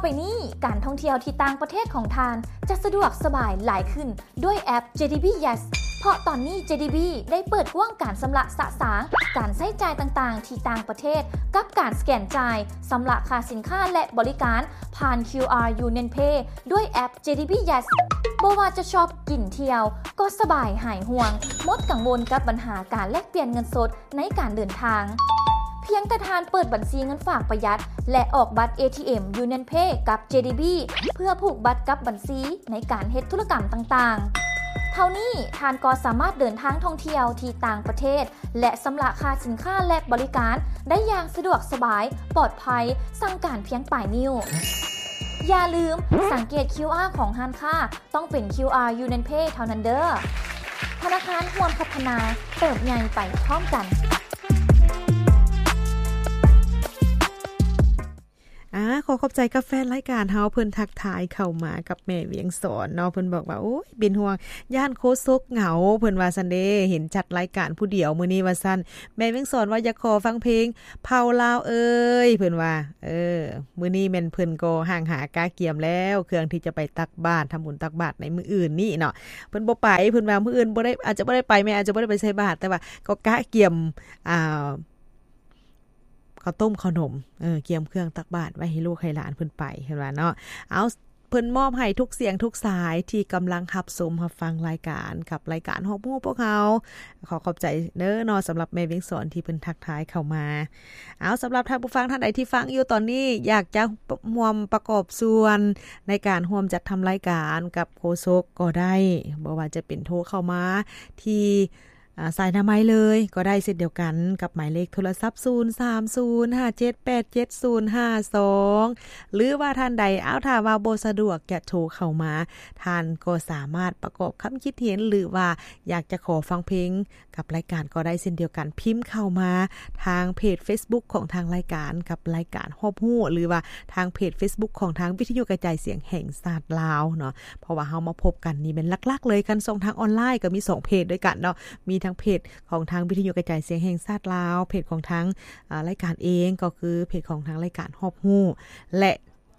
ໄປນີ້ ການທ່ອງທ່ຽວທີ່ຕ່າງປະເທດຂອງທ່ານຈະສະດວກສະບາຍຫຼາຍຂຶ້ນດ້ວຍແອັບ ເຈດີບີ Yes ເພາະຕອນນີ້ ເຈດີບີ ໄດ້ເປີດກວ້າງການຊຳລະສະສາງການໃຊ້ຈ່າຍຕ່າງໆທີ່ຕ່າງປະເທດ ກັບການສະແກນຈ່າຍ, ຊຳລະຄ່າສິນຄ້າ ແລະ ບໍລິການຜ່ານ ຄິວອາ Union Pay ດ້ວຍແອັບ ເຈດີບີ Yes. ບໍ່ວ່າຈະຊອບກິນ, ທ່ຽວ ກໍສະບາຍຫາຍຫ່ວງ, ໝົດກັງວົນກັບບັນຫາການແລກປ່ຽນເງິນສົດ ໃນການເດີນທາງ. ພຽງແຕ່ທ່ານເປີດບັນຊີເງິນຝາກປະຢັດ ແລະ ອອກບັດ ເອທີເອັມ Union Pay ກັບ ເຈດີບີ ເພື່ອຜູກບັດກັບບັນຊີໃນການເຮັດທຸລະກຳຕ່າງໆ. ເທົ່ານີ້ທ່ານກໍສາມາດເດີນທາງທ່ອງທ່ຽວທີ່ຕ່າງປະເທດ ແລະ ຊຳລະຄ່າສິນຄ້າ ແລະ ບໍລິການໄດ້ຢ່າງສະດວກສະບາຍ, ປອດໄພ, ສັ່ງການພຽງປາຍນິ້ວ. ຢ່າລືມ, ສັງເກດ ຄິວອາ ຂອງຮ້ານຄ້າ ຕ້ອງເປັນ ຄິວອາ Union Pay ເທົ່ານັ້ນເດີ້. ທະນາຄານຮ່ວມພັດທະນາ, ເຕີບໃຫຍ່ໄປພ້ອມກັນ. ອາ ຂໍຂອບໃຈກັບແຟນລາຍການເຮົາ, ເພິ່ນທັກທາຍເຂົ້າມາກັບແມ່ວຽງສອນເນາະ, ເພິ່ນບອກວ່າ ໂອ້ຍ ເປັນຫ່ວງ ຢ້ານໂຄສົກເຫງົາ, ເພິ່ນວ່າຊັ້ນເດ້, ເຫັນຈັດລາຍການຜູ້ດຽວມື້ນີ້ວ່າຊັ້ນ. ແມ່ວຽງສອນວ່າຢາກຂໍຟັງເພງ ເຜົ່າລາວເອີຍ ເພິ່ນວ່າ. ເອີ ມື້ນີ້ແມ່ນເພິ່ນກໍຫ້າງຫາກະກຽມແລ້ວ ເຄື່ອງທີ່ຈະໄປຕັກບາດ, ທຳບຸນຕັກບາດໃນມື້ອື່ນນີ້ເນາະ. ເພິ່ນບໍ່ໄປ, ເພິ່ນວ່າມື້ອື່ນບໍ່ໄດ້, ອາດຈະບໍ່ໄດ້ໄປ, ແມ່ອາດຈະບໍ່ໄດ້ໄປໃສ່ບາດ, ແຕ່ວ່າກໍກະກຽມ ອ່າ ເຂົ້າຕົ້ມເຂົ້າໜົມ, ເອີ ກຽມເຄື່ອງຕັກບາດໄວ້ໃຫ້ລູກໃຫ້ຫຼານເພິ່ນໄປ, ເພິ່ນວ່າເນາະ. ເອົາ ເພິ່ນມອບໃຫ້ທຸກສຽງທຸກສາຍທີ່ກຳລັງຮັບຊົມຮັບຟັງລາຍການ ກັບລາຍການຮອບຮູ້ພວກເຮົາ. ຂໍຂອບໃຈເດີເນາະ ສຳລັບແມ່ວຽງສອນທີ່ເພິ່ນທັກທາຍເຂົ້າມາ. ເອົາ ສຳລັບທ່ານຜູ້ຟັງທ່ານໃດທີ່ຟັງຢູ່ຕອນນີ້ ຢາກຈະຮ່ວມປະກອບສ່ວນໃນການຮ່ວມຈັດທຳລາຍການກັບໂຄສົກກໍໄດ້, ບໍ່ວ່າຈະເປັນໂທເຂົ້າມາທີ່ ອາ ສາຍໜ້າໄມເລີຍກໍໄດ້ເຊັ່ນດຽວກັນກັບໝາຍເລກໂທລະສັບ ສູນສາມສູນຫ້າເຈັດແປດເຈັດສູນຫ້າສອງ ຫຼືວ່າທ່ານໃດ ເອົາ ຖ້າວ່າບໍ່ສະດວກຈະໂທເຂົ້າມາ, ທ່ານກໍສາມາດປະກອບຄຳຄິດເຫັນ ຫຼືວ່າຢາກຈະຂໍຟັງເພງກັບລາຍການກໍໄດ້ເຊັ່ນດຽວກັນ, ພິມເຂົ້າມາທາງເພຈເຟສບຸກຂອງທາງລາຍການກັບລາຍການຮອບຮູ້ ຫຼືວ່າທາງເພຈເຟສບຸກຂອງທາງວິທະຍຸກະຈາຍສຽງແຫ່ງຊາດລາວເນາະ. ເພາະວ່າເຮົາມາພົບກັນນີ້ແມ່ນຫຼັກໆເລີຍ ຄັນຊ່ອງທາງອອນລາຍກໍມີສອງເພຈດ້ວຍກັນເນາະ, ມີທັງເພຈຂອງທາງວິທະຍຸກະຈາຍສຽງແຫ່ງຊາດລາວ, ເພຈຂອງທາງ ອາ ລາຍການເອງ ກໍຄືເພຈຂອງທາງລາຍການຮອບຮູ້ ແລະ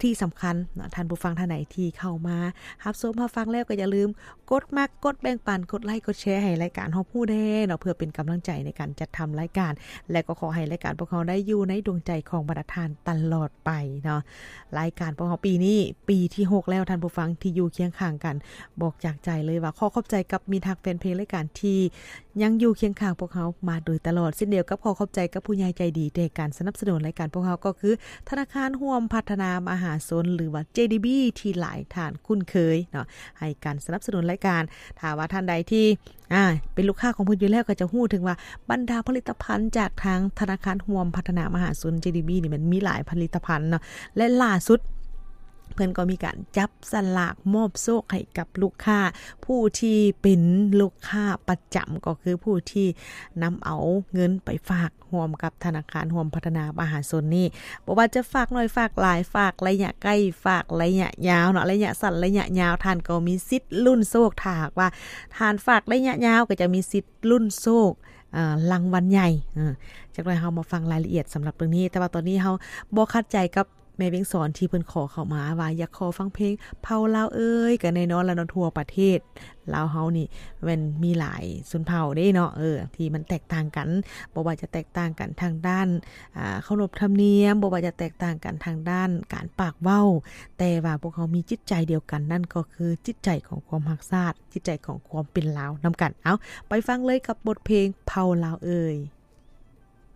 ທີ່ສຳຄັນເນາະ ທ່ານຜູ້ຟັງທ່ານໃດທີ່ເຂົ້າມາຮັບຊົມຮັບຟັງແລ້ວ ກໍຢ່າລືມກົດມັກ, ກົດແບ່ງປັນ, ກົດໄລ, ກົດແຊໃຫ້ລາຍການຮອບຮູ້ແດ່ເນາະ ເພື່ອເປັນກຳລັງໃຈໃນການຈັດທຳລາຍການ. ແລະ ກໍຂໍໃຫ້ລາຍການພວກເຮົາໄດ້ຢູ່ໃນດວງໃຈຂອງບັນດາທ່ານຕະຫຼອດໄປເນາະ. ລາຍການພວກເຮົາປີນີ້ປີທີຫົກແລ້ວ ທ່ານຜູ້ຟັງທີ່ຢູ່ຄຽງຂ້າງກັນ, ບອກຈາກໃຈເລີຍວ່າຂໍຂອບໃຈກັບມິດຮັກແຟນເພງລາຍການທີ່ຍັງຢູ່ຄຽງຂ້າງພວກເຮົາມາໂດຍຕະຫຼອດ, ເຊັ່ນດຽວກັບຂໍຂອບໃຈກັບຜູ້ໃຫຍ່ໃຈດີໃນການສະໜັບສະໜູນລາຍການພວກເຮົາ ກໍຄືທະນາຄານຮ່ວມພັດທະນາມະຫາຊົນ ຫຼືວ່າ ເຈດີບີ ທີ່ຫຼາຍທ່ານຄຸ້ນເຄີຍເນາະ ໃຫ້ການສະໜັບສະໜູນລາຍການ. ຖ້າວ່າທ່ານໃດທີ່ ອາ ເປັນລູກຄ້າຂອງເພິ່ນຢູ່ແລ້ວ ກໍຈະຮູ້ເຖິງວ່າບັນດາຜະລິດຕະພັນຈາກທາງທະນາຄານຮ່ວມພັດທະນາມະຫາຊົນ ເຈດີບີ ນີ້ ມັນມີຫຼາຍຜະລິດຕະພັນເນາະ ແລະ ລ່າສຸດເພິ່ນກໍມີການຈັບສະຫຼາກມອບໂຊກໃຫ້ກັບລູກຄ້າຜູ້ທີ່ເປັນລູກຄ້າປະຈຳ ກໍຄືຜູ້ທີ່ນຳເອົາເງິນໄປຝາກ ຮ່ວມກັບທະນາຄານຮ່ວມພັດທະນາມະຫາຊົນນີ້ ບໍ່ວ່າຈະຝາກໜ້ອຍຝາກຫຼາຍ, ຝາກໄລຍະໃກ້, ຝາກໄລຍະຍາວເນາະ, ໄລຍະສັ້ນ, ໄລຍະຍາວ, ທ່ານກໍມີສິດລຸ້ນໂຊກ. ຖ້າຫາກວ່າທ່ານຝາກໄລຍະຍາວ ກໍຈະມີສິດລຸ້ນໂຊກ ເອີ ລາງວັນໃຫຍ່. ເອີ ຈັກໜ້ອຍເຮົາມາຟັງລາຍລະອຽດສຳລັບເລື່ອງນີ້, ແຕ່ວ່າຕອນນີ້ເຮົາບໍ່ຂັດໃຈກັບ ແມ່ວຽງສອນທີ່ເພິ່ນຂໍເຂົ້າມາວ່າຢາກຂໍຟັງເພງເຜົ່າລາວເອີຍ, ກໍແນ່ນອນລະເນາະ ທົ່ວປະເທດລາວເຮົານີ້ແມ່ນມີຫຼາຍຊົນເຜົ່າເດ້ເນາະ ເອີ ທີ່ມັນແຕກຕ່າງກັນ, ບໍ່ວ່າຈະແຕກຕ່າງກັນທາງດ້ານ ອ່າ ເຄົາລົບທຳນຽມ, ບໍ່ວ່າຈະແຕກຕ່າງກັນທາງດ້ານການປາກເວົ້າ, ແຕ່ວ່າພວກເຮົາມີຈິດໃຈດຽວກັນ, ນັ້ນກໍຄືຈິດໃຈຂອງຄວາມຮັກຊາດ, ຈິດໃຈຂອງຄວາມເປັນລາວນຳກັນ. ເອົາ ໄປຟັງເລີຍກັບບົດເພງເຜົ່າລາວເອີຍ.